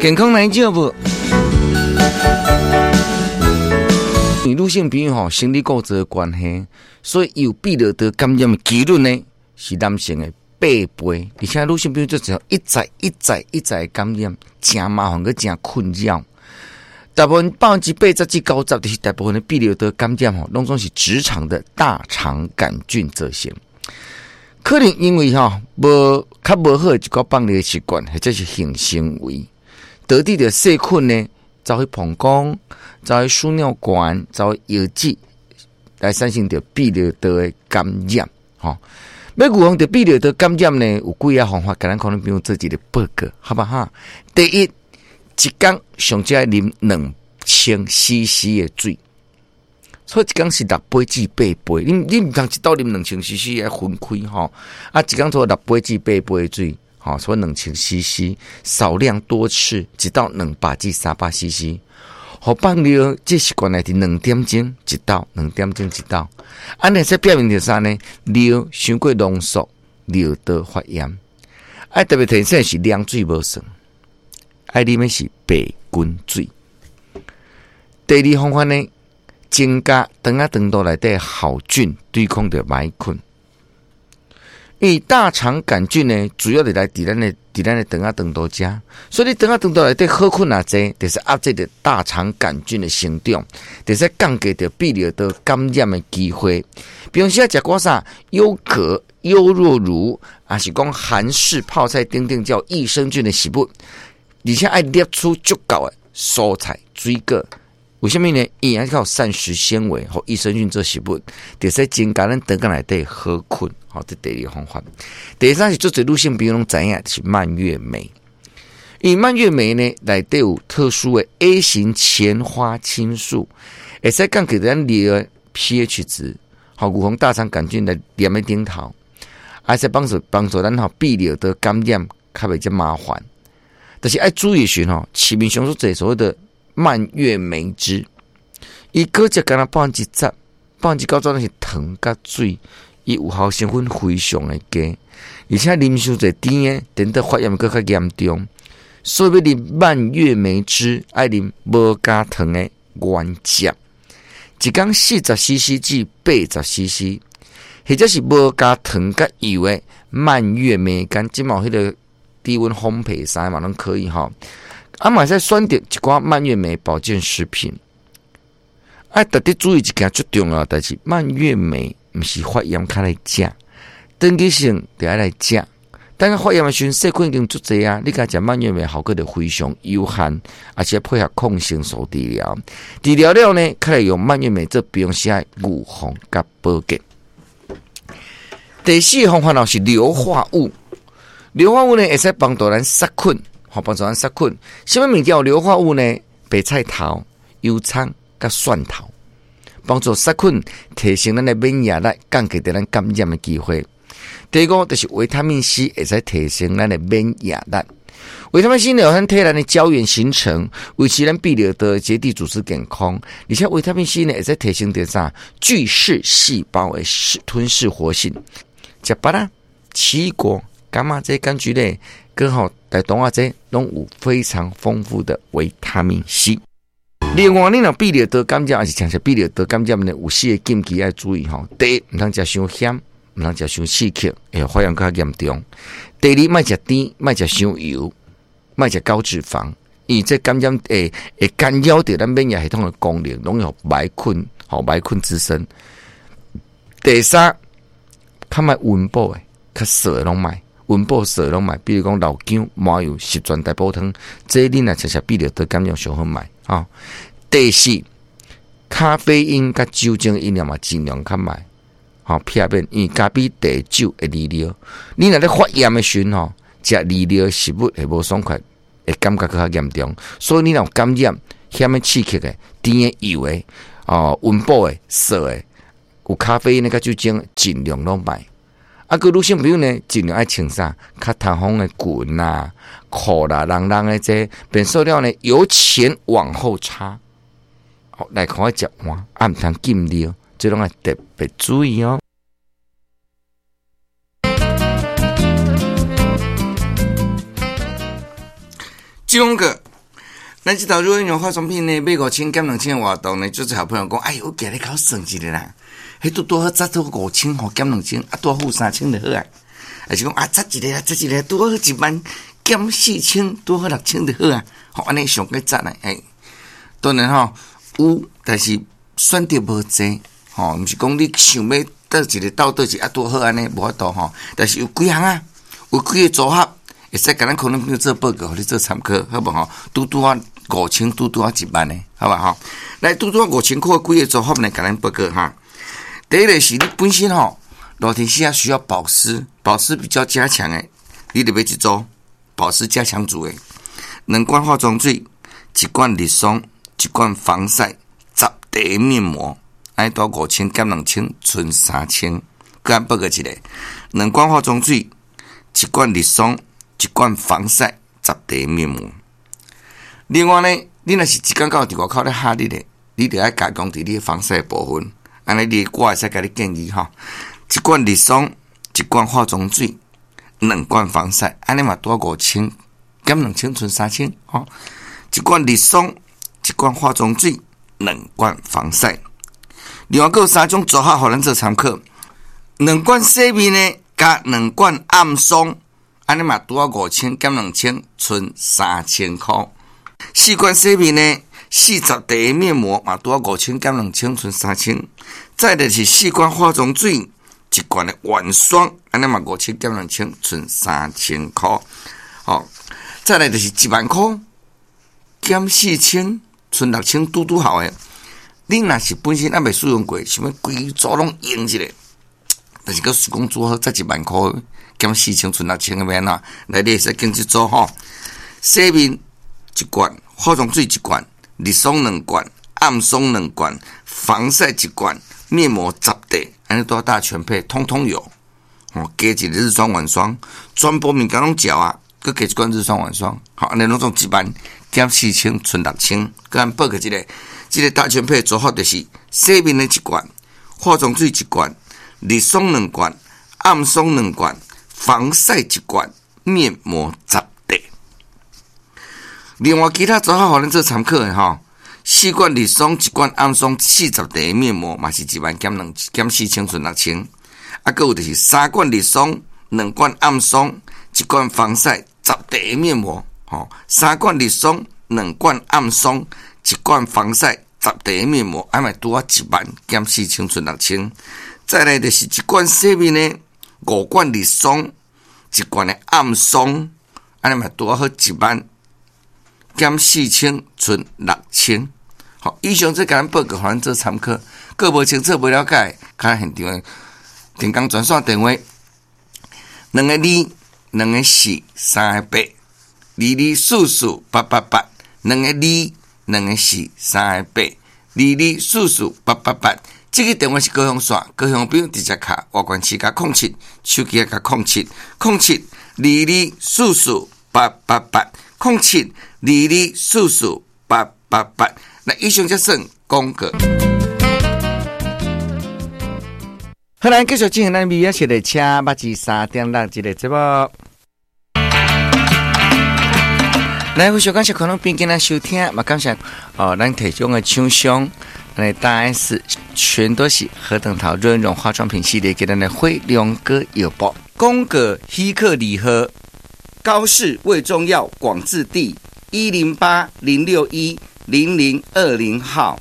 健康來照無？因為女性朋友吼，生理構造的關係，所以有泌尿道感染的幾率呢是男性的八倍，而且女性朋友就只一再一再一再感染，誠麻煩閣誠困擾。大部分80%至90%，就是大部分的泌尿道感染吼，攏總是直腸的大腸桿菌造成。可能因為吼無較無好的一寡放尿習慣，或者是性行為，導致著細菌呢走去膀胱、走去輸尿管、走去尿質，來產生著泌尿道的感染。吼，欲預防著泌尿道感染呢，有幾个方法，共咱可能朋友做一个報告，好不好？第一，一工上少愛啉2000 cc 的水，所以一工是六杯至八杯。你毋通一斗啉2000 cc 愛分開吼，啊，一工做六杯至八杯的水，吼，所以2000 cc，少量多次，一斗200至300 cc。予放尿這習慣來佇2點鐘一斗，兩點鐘一斗。按呢，這表明著啥呢？尿傷過濃縮，尿道發炎。愛特別提醒是涼水無算，愛啉的是白滾水。第二方法呢，增加腸仔腸道內底好菌，對抗著歹菌。因為大腸桿菌呢，主要是來佇咱的腸仔腸道遮，所以你腸仔腸道內底好菌若濟，就是壓制著大腸桿菌的生長，就是降低著泌尿道感染的機會。比如說食寡啥優格、優酪乳，抑是講韓式泡菜等等叫益生菌的食物，而且愛攝取足夠的蔬菜水果。為啥物呢？伊愛靠膳食纖維予益生菌做食物，就是增加咱腸仔內底好菌。好，這第二方法。第三是足濟女性朋友攏知影，就是蔓越莓。因為蔓越莓呢，內底有特殊的 A 型前花青素，會使降低咱尿的 pH 值，予預防大腸桿菌來黏佇頂頭，會使幫助幫助咱吼泌尿道感染較袂遮麻煩。但是愛注意的是吼，市面上所濟所謂的蔓越莓汁，伊果汁干焦10%、90%攏是糖佮水，伊有效成分非常的低，而且啉傷濟甜的，等到發炎閣較嚴重。所以欲啉蔓越莓汁，愛啉無加糖的原汁，一工40 cc 至80 cc，或者是無加糖佮油的蔓越莓乾，這嘛有彼個低溫烘焙啥嘛攏可以吼。啊，嘛會使選擇一寡蔓越莓保健食品。愛特別注意一件最重要的代誌，蔓越莓毋是發炎較來食，長期性就愛來食。等下發炎的時陣，細菌已經足濟啊！你共食蔓越莓效果就非常有限，而且配合抗生素治療。治療了呢，較來用蔓越莓做平常時的預防佮保健。第四個方法咯是硫化物，硫化物呢會使幫助咱殺菌。好，幫助咱殺菌。啥物物件有硫化物呢？白菜頭、油蔥、佮蒜頭，幫助殺菌，提升咱的免疫力，降低咱感染的機會。第五就是維他命 C 會使提升咱的免疫力。維他命 C 呢，有咱體內的膠原形成，維持咱泌尿道結締組織健康。而且維他命 C 呢，會使提升著啥？巨噬細胞的吞噬活性。食芭樂、奇異果、柑仔這柑橘類，剛好在動物這攏有非常豐富的維他命 C。另外，你若泌尿道感染，抑是像是泌尿道感染呢，有四個禁忌愛注意吼。第一，毋通食傷鹹，毋通食傷刺激，會發炎較嚴重。第二，莫食甜，莫食傷油，莫食高脂肪，因為這感染會干擾著咱免疫系統的功能，攏會歹菌，吼歹菌滋生。第三，較莫溫補的，較素的攏莫。溫補素攏莫，比如講老薑、麻油、十全大補湯，這你若食食泌尿道感染上好莫。吼。第四，咖啡因佮酒精飲料嘛，盡量較莫，吼，避免，因為咖啡、茶、酒會利尿。你若咧發炎的時陣吼，食利尿的食物會無爽快，會感覺閣較嚴重。所以你若有感染，鹹的刺激的、甜的、油的、哦溫補的、素的，有咖啡因的佮酒精，盡量攏莫。啊，閣女性朋友呢，盡量愛穿啥較透風的裙啊、褲啦、啷啷的這便所了呢，由前往後插，好內褲愛接換，啊，毋通禁尿，這攏愛特別注意哦。這兩個。咱這道潤容化妝品呢，買五千減兩千的活動呢，就是好朋友講，哎呦，我今日較算一下啦，彼拄拄好節到五千吼，減兩千，啊，拄好付三千就好啊。還是講啊，節一个，節一个，拄好一萬減四千，拄好六千就好啊。吼，按呢上過節啊，哎，當然吼有，但是選擇無濟，吼，毋是講你想欲佗一个鬥佗一個啊，拄好按呢無法度吼。但是有幾項啊，有幾个組合，會使共咱可能朋友做報告，予你做參考，好無吼？拄拄仔五千，拄拄仔一萬的，好無吼？來，拄拄仔五千箍幾个組合呢？共咱報告哈。第一个是你本身吼，熱天時啊需要保濕，保濕比較加強的，你就買一組保濕加強組的，兩罐化妝水，一罐日霜，一罐防曬，十塊面膜，按呢拄五千減兩千，賰三千。閣報告一个，兩罐化妝水，一罐日霜，一罐防曬，十塊面膜。另外呢，你若是一工到佇外口咧曬日的，你就愛加強佇你的防曬部分。按呢，你我會使共你建議吼，一罐日霜，一罐化妝水，兩罐防曬，按呢嘛拄五千減兩千，賰三千吼。一罐日霜，一罐化妝水，兩罐防曬。另外，閣有三種組合，予咱做參考。兩罐洗面的佮兩罐暗霜，按呢嘛拄仔五千減兩千，賰三千箍。四罐洗面的，四十塊面膜嘛拄仔五千減兩千，賰三千。再來是四罐化妝水，一罐的晚霜，按呢嘛五千減兩千，賰三千箍。吼，再來就是一萬箍減四千，賰六千，拄拄好的。你若是本身猶未使用過，想欲規組攏用一下，但是閣想講拄好才一萬箍減四千，賰六千的欲按怎？來，你會使揀這組吼，洗面一罐，化妝水一罐，日霜兩罐，暗霜兩罐，防曬一罐，面膜十塊，按呢拄大全配，通通有。哦，加一個日霜晚霜，全部物件攏食啊，閣加一罐日霜晚霜，好，按呢攏總一萬減四千，賰六千。閣按報告一个，這个大全配組合就是洗面的一罐，化妝水一罐，日霜兩罐，暗霜兩罐，防曬一罐，面膜十塊。另外，其他組合予咱做參考的吼，四罐日霜，一罐暗霜，四十塊面膜嘛是一萬減兩減四千，賰六千。啊，閣有就是三罐日霜，兩罐暗霜，一罐防曬，十塊面膜，吼，三罐日霜，兩罐暗霜，一罐防曬，十塊面膜，按呢拄仔一萬減四千，賰六千。再來就是一罐洗面的，五罐日霜，一罐的暗霜，按呢嘛拄仔好一萬減四千，賰六千。好，以上這共咱報告，予咱做參考。閣無清楚、無了解，較現場的電工專線電話：兩個二、兩個四、三個八，二二四四八八八，兩個二、兩個四、三個八，二二四四八八八。這个電話是高雄線，高雄朋友直接敲，外縣市加空七，手機加空七，空七二二四四八八八，空七二二四四八八八。那以上才算廣告。好，咱繼續進行咱美食的車，目子三點六這个節目。來，非常感謝可能邊間來收聽，嘛感謝哦，咱提供的廠商，咱的大 S 全都是何等桃潤容化妝品系列給咱的輝龍哥藥鋪廣告許可禮盒，高市胃中藥廣治地108-061-0020號。